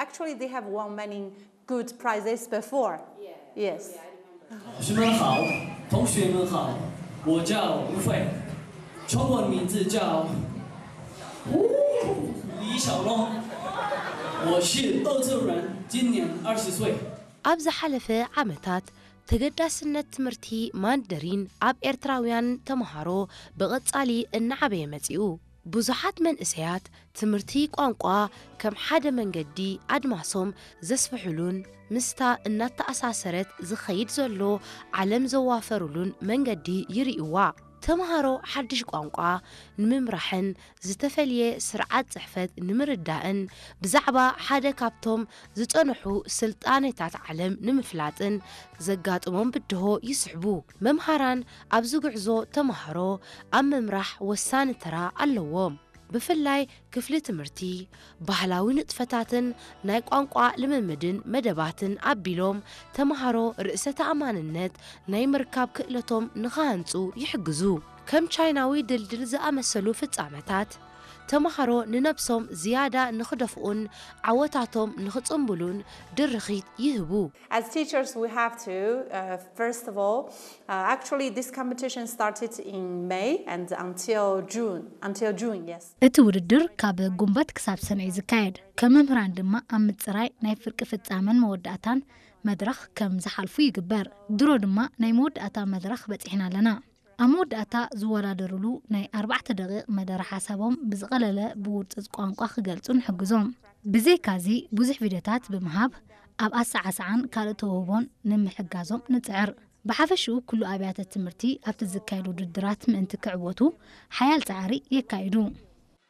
Actually, they have won many good prizes before. Yes. 同学们好，同学们好，我叫吴飞，中文名字叫李小龙，我是澳洲人，今年二十岁。 ኣብ ዝሓለፈ ዓመታት ተገዳስነት ትምህርቲ ማንደሪን ኣብ ኤርትራውያን ተምሃሮ ብቐጻሊ እናዓበየ መጺኡ። ብዙሓት መንእሰያት ትምህርቲ ቋንቋ ከም ሓደ መንገዲ ኣድማሶም ዘስፍሕሉን ምስታ እናተኣሳሰረት ዝኸይድ ዘሎ ዓለም ዘዋፈሩሉን መንገዲ ይርእይዋ። ተምሃሮ ሓድሽ ቋንቋ ንምምራሕን ዝተፈልየ ስርዓት ጽሕፈት ንምርዳእን ብዛዕባ ሓደ ካብቶም ዝጸንሑ ስልጣነታት ዓለም ንምፍላጥን ዘጋጥሞም ብድሆ ይስሕቡ። መምሃራን ኣብዚ ጉዕዞ ተምሃሮ ኣብ ምምራሕ ወሳኒ ተራ ኣለዎም። ብፍላይ ክፍሊ ትምህርቲ፣ ባህላዊ ንጥፈታትን ናይ ቋንቋ ልምምድን መደባትን ኣቢሎም ተምሃሮ ርእሰ ተኣማንነት ናይ ምርካብ ክእለቶም ንኽሃንጹ ይሕግዙ። ከም ቻይናዊ ድልድል ዝኣመሰሉ ፍጻመታት ተምሃሮ ንነብሶም ዝያዳ ንኽደፍኡን ዓወታቶም ንኽጽንብሉን ድርኺት ይህቡ። As teachers, we have to, uh, first of all, uh, actually, this competition started in May and until June, until June, yes. እቲ ውድድር ካብ ጉንበት ክሳብ ሰነ እዩ ዝካየድ። ከም መምህራን ድማ ኣብ ምጽራይ ናይ ፍርቂ ፍጻመን መወዳእታን መድረኽ ከም ዝሓልፉ ይግበር። ድሮ ድማ ናይ መወዳእታ መድረኽ በጺሕና ኣለና። ኣብ መወዳእታ ዝወዳደሩሉ ናይ ኣርባዕተ ደቂቕ መደረ ሓሳቦም ብዝቐለለ ብውርጽጽ ቋንቋ ክገልጹ ንሕግዞም። ብዘይካዚ ብዙሕ ቪድዮታት ብምሃብ ኣብ ኣሰዓስዓን ካልእ ተውህቦን ንምሕጋዞም ንጽዕር። ብሓፈሽኡ ኩሉ ኣብያተ ትምህርቲ ኣብቲ ዝካየድ ውድድራት ምእንቲ ክዕወቱ ሓያል ጻዕሪ የካይዱ።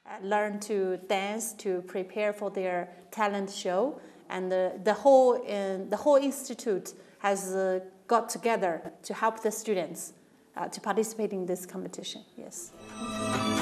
Uh, learn to dance to prepare for their talent show, and the, the whole uh, the whole institute has uh, got together to help the students uh, to participate in this competition. Yes.